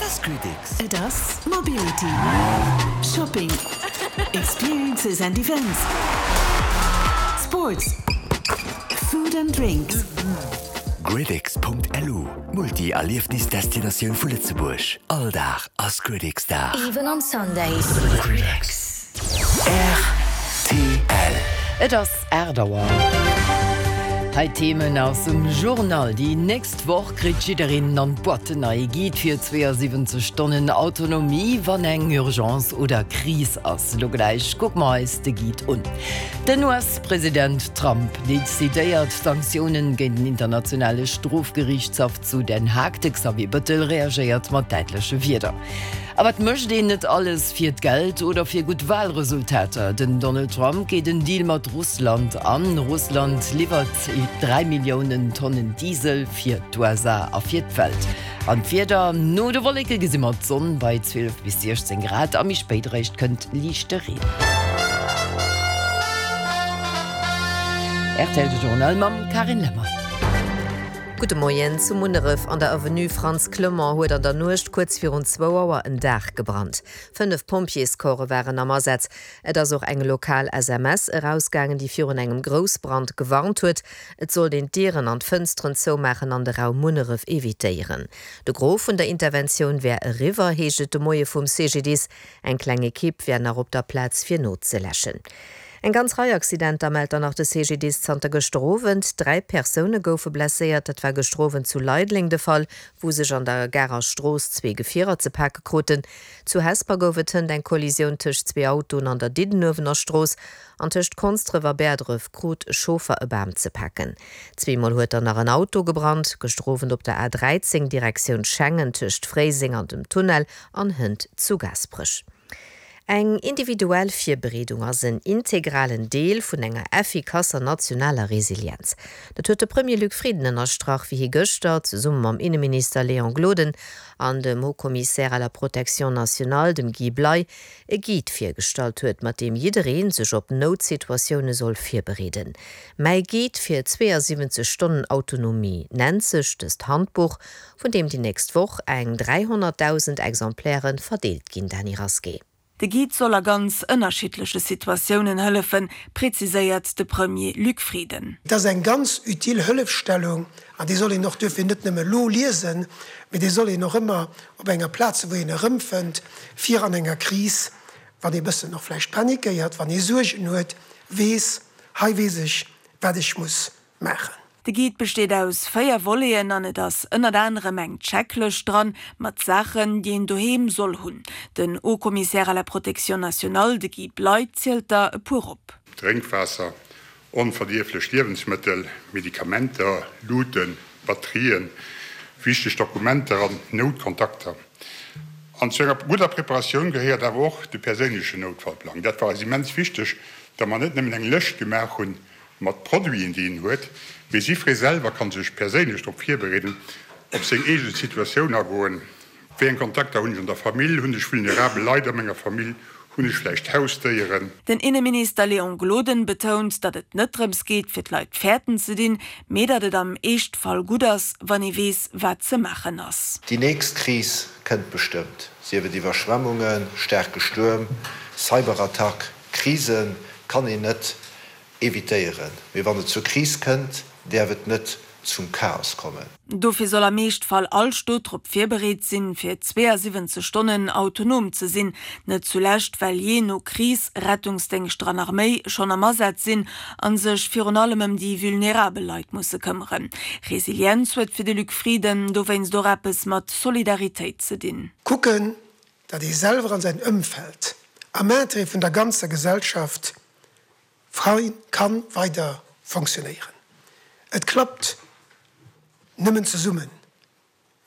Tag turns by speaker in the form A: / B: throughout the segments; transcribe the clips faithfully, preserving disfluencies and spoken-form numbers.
A: ass GridX.
B: Et ass Mobility, Shopping, Experiences and Events, Sports, Food and Drinks.
A: GridX.lu, Multi-Erliefnisdestinatioun vu Lëtzebuerg. All Dag ass GridX-Dag.
C: Even on Sundays.
A: GridX. R T L.
D: Et ass aacht Auer. Hei d'Themen aus dem Journal. Déi nächst Woch kritt jiddereen an d'Boîte en neie Guide fir zwéiasiwwenzeg Stonnen Autonomie, wann eng Urgence oder Kris ass. Lo gläich kucke mer eis de Guide un. Den U S-President Trump decidéiert Sanktiounen géint den internationale Strofgeriichtshaff zu Den Haag. De Xavier Bettel reagéiert mat däitleche Wierder. A wat mécht een net alles fir d'Geld oder fir gutt Walresultater? Den Donald Trump geet en Deal mat Russland an. Russland liwwert dräi Milliounen Tonnen Diesel fir d'U S A a fir d'Welt. An d'Wieder, no de Wolleke gesi mer d'Sonn bei zwielef bis siechzéng Grad a méi spéit eréischt kënnt liichte Reen. R T L de Journal mam Carine Lemmer.
E: Gudde Moien. Zu Munneref an der Avenue Frantz Clement huet an der Nuecht kuerz virun zwou Auer en Daach gebrannt. Fënnef Pompjeescorpse waren am Asaz. Et ass och eng lokal S M S erausgaangen, déi virun engem Groussbrand gewarnt huet. Et sollt een d'Dieren an d'Fënsteren zoumaachen an de Raum Munneref evitéieren. De Gros vun der Interventioun wär eriwwer, heescht et de Moie vum C G D I S. Eng kleng Ekipp wär nach op der Plaz fir nozeläschen. Eng ganz Rei Accidenter mellt dann nach de C G D I S zanter gëschter Owend. Dräi Persoune goufe blesséiert, dat war gëschter Owend zu Leideleng de Fall, wou sech an der Garer Strooss zwee Gefierer ze pake kruten. Zu Hesper gouf et hënt eng Kollisioun tëscht zwee Autoen an der Diddenuewener Strooss an tëscht Konsdref a Bäerdref krut e Chauffer e Bam ze paken. Zweemol huet dann nach en Auto gebrannt, gëschter Owend op der A dräizéng Direktioun Schengen tëscht Fréiseng an dem Tunnel an hënt zu Gaasperech. Eng individuell Virbereedung ass en integralen Deel vun enger effikasser nationaler Resilienz. Dat huet de Premier Luc Frieden ënnerstrach, wéi hie gëschter zesumme mam Inneminister Léon Gloden an dem Haut-Commissaire à la protection nationale, dem Guy Bley, e Guide virgestallt huet, mat deem jidderee sech op Noutsituatioune soll virbereeden. Mäi Guide fir zweeasiwwenzeg Stonnen Autonomie nennt sech dëst Handbuch, vun deem déi nächst Woch eng dräihonnertdausend Exemplaire verdeelt ginn. Dany Rasqué.
F: De Guide soll a ganz ënnerschiddleche Situatiounen hëllefen, präziséiert de Premier Luc Frieden.
G: Dat ass eng ganz utile Hëllefstellung an déi soll een och duerfir net nëmme lo liesen, mee déi soll een och ëmmer op enger Plaz, wou een erëmfënnt, fir an enger Kris, wann ee bëssen och vläicht panikéiert, wann ee Suergen huet, weess, hei weess ech, wat ech muss maachen.
F: De Guide besteet aus véier Voleten an et ass ënnert anerem eng Checklëscht dran mat Saachen, déi een doheem soll hunn. Den Haut-Commissaire à la protection nationale, de Guy Bley, zielt der e puer op.
H: Drénkwaasser, onverdierflech Liewensmëttel, Medikamenter, Luuten, Batterien, wichteg Dokumenter an Noutkontakter. An zu enger gudder Preparatioun gehéiert awer och de perséinlechen Noutfallplang. Dat war eis immens wichteg, datt mer net nëmmen eng Lëscht gemaach hunn mat Produiten, déi een huet, mee jiddweree selwer kann sech perséinlech drop virbereeden, op seng eege Situatioun agoen. Wéi eng Kontakter hunn ech an der Famill, hunn ech vulnerabel Leit a menger Famill, hunn ech vläicht Hausdéieren?
F: Den Inneminister Léon Gloden betount, datt et net drëms geet, fir d'Leit fäerten ze dinn, mee datt et am Eeschtfall gutt ass, wann ee weess, wat ze maachen ass.
I: Déi nächst Kris kënnt bestëmmt, sief et Iwwerschwemmungen, staarke Stuerm, Cyberattack. Krise kann een net evitéieren, mee wann et zur Kris kënnt, däerf et net zum Chaos kommen.
F: Dofir soll am Eeschtfall all Stot drop virbereet sinn, fir zweeasiwwenzeg Stonnen autonom ze sinn. Net zulescht, well jee no Kris Rettungsdéngschter an Arméi schonn am Asaz sinn an sech virun allem ëm déi vulnerabel Leit musse këmmeren. Resilienz huet fir de Luc Frieden dowéinst och eppes mat Solidaritéit ze dinn.
G: Kucken, datt ee selwer an säin Ëmfeld am Interêt vun der ganzer Gesellschaft frei kann weider fonctionnéieren. Et klappt nëmmen zesummen,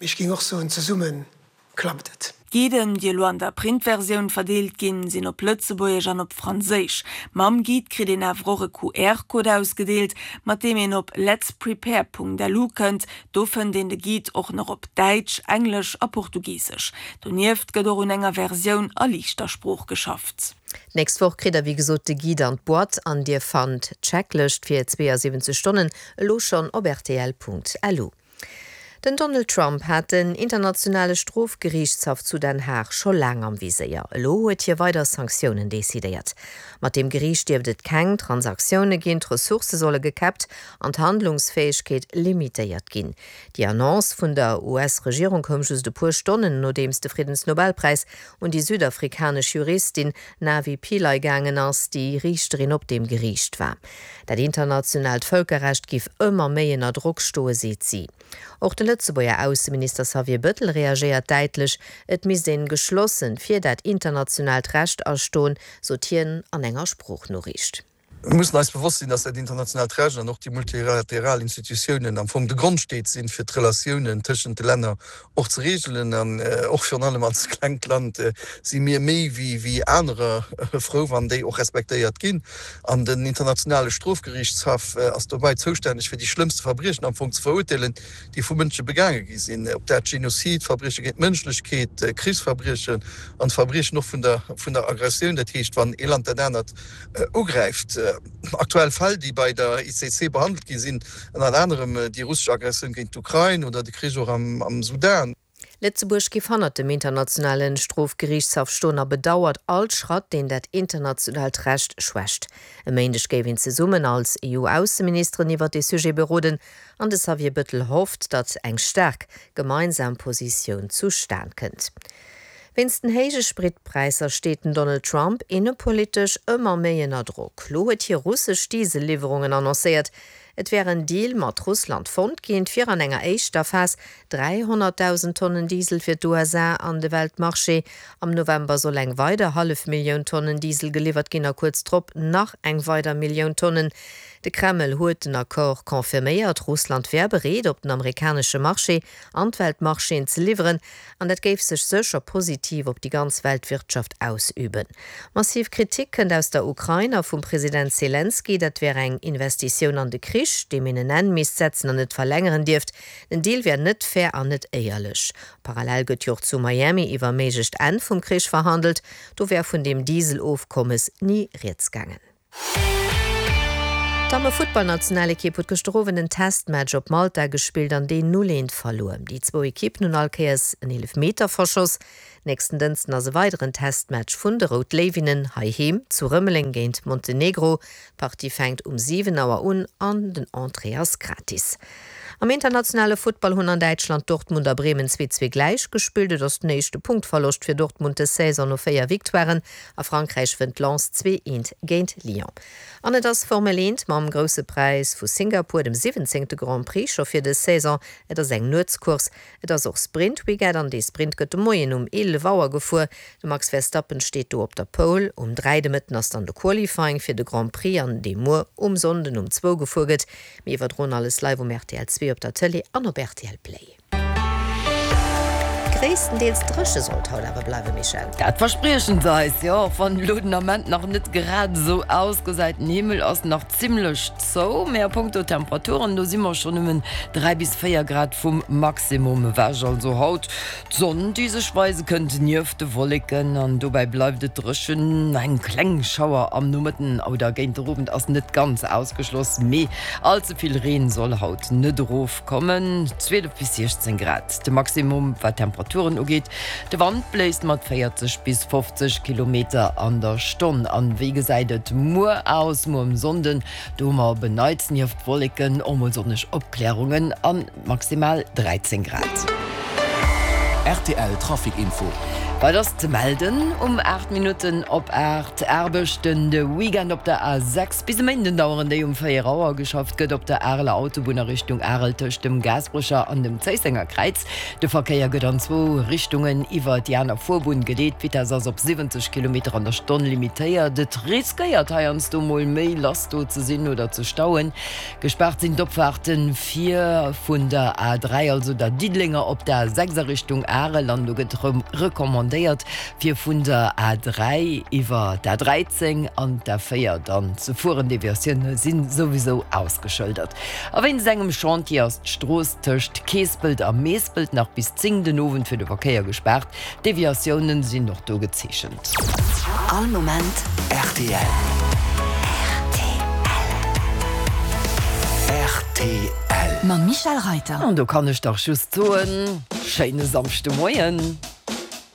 G: mee ech géing och soen, zesumme klappt et.
F: D'Guiden, déi elo an der Printversioun verdeelt ginn, sinn op Lëtzebuergesch an op Franséisch. Mam Guide kritt een awer och e Q R-Code ausgedeelt, mat deem een op letsprepare Punkt L U kënnt. Do fënnt een de Guide och nach op Däitsch, Englesch a Portugisesch. Donieft gëtt och un enger Versioun a Liichter Sprooch geschafft.
E: D'nächst Woch kritt der wéi gesot de Guide an d'Boîte an dir fannt d'Checklëscht fir zweeasiwwenzeg Stonnen elo schonn op R T L Punkt L U. Den Donald Trump hat den Internationale Strofgeriichtshaff zu Den Haag scho laang am Viséier. Elo huet hie weider Sanktiounen decidéiert. Mat deem Geriicht dierft et keng Transaktioune ginn, d'Ressourcë solle gekäppt an d'Handlungsfäegkeet limitéiert ginn. Déi Annonce vun der US-Regierung koum just e puer Stonnen, nodeems de Friddensnobelpräis un déi südafrikanesch Juristin Navi Pillay gaangen ass, déi Riichterin op deem Geriicht war. Dat internationaalt Vëlkerrecht giff ëmmer méi ënner Drock stoe, seet si. Och de Lëtzebuerger Ausseminister Xavier Bëttel reagéiert däitlech, Et misst een geschlossen fir dat internationaalt Recht astoen, sot hien an enger Sproochnoriicht.
C: Mir mussen eis bewosst sinn, dass dat internationaalt Recht an och déi multilateral Institutiounen am Fong de Grondsteet sinn, fir d'Relatiounen tëschent de Länner och ze regelen. An och virun allem als klengt Land si mir méi wéi anerer frou, wann déi och respektéiert ginn. An den Internationale Strofgeriichtshaff ass dobäi zoustänneg, fir déi schlëmmste Verbriechen am Fong ze verurteelen, déi vu Mënsche begaange gi sinn, ob dat Genozid, Verbrieche géint d'Mënschlechkeet, Krichsverbriechen an d'Verbriechen och vun der vun der Aggressioun, dat heescht, wann ee Land dat anert ugräift. Aktuell Fäll, déi bei der I C C behandelt gi sinn, ënnert anerem déi russesch Aggressioun géint d'Ukrain oder de Krich och am Sudan.
E: Lëtzebuerg géif hannert dem Internationale Strofgeriichtshaff stoen a bedauert all Schratt, deen dat internationaalt Recht schwächt. E Méindeg géif een zesummen als E U-Ausseministeren iwwer dee Sujet beroden an de Xavier Bëttel hofft, datt eng staark gemeinsam Positioun zustan kënnt. Wéinst den héije Spritpräisser steet den Donald Trump innepolitesch ëmmer méi ënner Drock. Lo huet hie russesch Dieselliwwerungen annoncéiert. Et wär en Deal mat Russland fonnt ginn, fir an enger éischter Phas dräihonnertdausend Tonnen Diesel fir d'U S A an de Weltmarché. Am November soll eng weider hallef Millioun Tonnen Diesel geliwwert ginn a kuerz drop nach eng weider Millioun Tonnen. De Kreml huet den Accord confirméiert, Russland wär bereet, op den amerikanesche Marché an d'Weltmarchéen ze liwweren, an dat géif sech sécher positiv op déi ganz Weltwirtschaft ausüben. Massiv Kritik kënnt aus der Ukrain a vum President Selenskyj, dat wär eng Investitioun an de Krich, deem een en Enn misst setzen an net verlängeren dierft. Den Deal wär net fair an net éierlech. Parallel gëtt jo och zu Miami iwwer e méiglecht Enn vum Krich verhandelt, do wär vun deem Dieselofkommes ni rieds gaangen. D'Damme-Futtballnationalekipp huet gëschter Owend en Testmatch op Malta gespillt an deen null eent verluer. Déi zwou Ekippen hunn all Kéiers en Eelefmeter verschoss. Nächsten Dënschden ass e weideren Testmatch vun de Rout Léiwinnen heiheem zu Rëmeleng géint Montenegro. D'Partie fänkt um siwen Auer un an den Entrée ass gratis. Am internationale Futtball hunn an Däitschland Dortmund a Bremen zwee zwee gläich gespillt. Et ass den éischte Punktverloscht fir Dortmund dës Saison no véier Victoiren. A Frankräich wënnt Lens zwee eent géint Lyon. An et ass Formel eent mam Grousse Präis vu Singapur, dem siwwenzéngte Grand Prix scho fir dës Saison. Et ass eng Nuetscourse. Et ass och Sprint-Weekend an dee Sprint gëtt de Moien um eelef Auer gefuer. De Max Verstappen steet do op der Pole. Um dräi de Mëtten ass dann de Qualifying fir de Grand Prix an dee muer um Sonnden um zwou gefuer gëtt. Mir iwwerdroen alles live um R T L zwee op der Tëlee an op R T L Play. Gréisstendeels dréche soll et haut awer bleiwen, Michèle.
D: Dat verspriechen se eis, jo, och wann elo den Ament nach net grad esou ausgesäit. Den Himmel ass nach zimmlech zou, mä a punkto Temperaturen, do si mer schonn nëmmen dräi bis véier Grad vum Maximum ewech. Also haut d'Sonn, déi sech weise kënnt nieft de Wolleken, an dobäi bleift et dréchen. Eng kleng Schauer am Nomëtten oder géint den Owend ass net ganz ausgeschloss, mee all ze vill Reen soll haut net erofkommen. zwielef bis siechzéng Grad de Maximum wat d'Temperaturen ugeet. De Wand bléist mat véierzeg bis fofzeg Kilometer an der Stonn. An wéi gesäit et muer aus? Muer um Sonnden, do hu mer op en Neits nieft Wolleken och mol sonneg Opklärungen an maximal dräizéng Grad.
J: R T L Trafic Info.
D: Wat ass ze melden um aacht Minutten op aacht? Aarbechten de Weekend op der A sechs. Bis e Méinden daueren déi. Um véier Auer geschafft gëtt op der Areler Autobunn a Richtung Arel tëscht dem Gaasperecher an dem Zéissenger Kräiz. De Verkéier gëtt an zwou Richtungen iwwer déi aner Fuerbunn geleet. D'Vitess ass op siwwenzeg Kilometer an der Stonn limitéiert. Et riskéiert heiansdo mol méi lass do ze sinn oder ze stauen. Gespaart sinn d'Opfaarten fir vun der A dräi, also der Diddelenger, op d'A sechs a Richtung Arel an do gëtt recommandéiert, fir vun der A dräi iwwer d'A dräizéng an d'A véier dann ze fueren. Deviatioune si souwisou ausgeschëldert. A wéinst engem Chantier ass d'Strooss tëscht Keespelt a Meespelt nach bis zéng den Owend fir de Verkéier gespaart. Deviatiounen sinn och do gezeechent.
B: All Moment
A: R T L. R T L. R T L. Rtl.
B: Mam Michèle Reiter.
D: An do kann ech dach just soen, schéine Samschdemoien.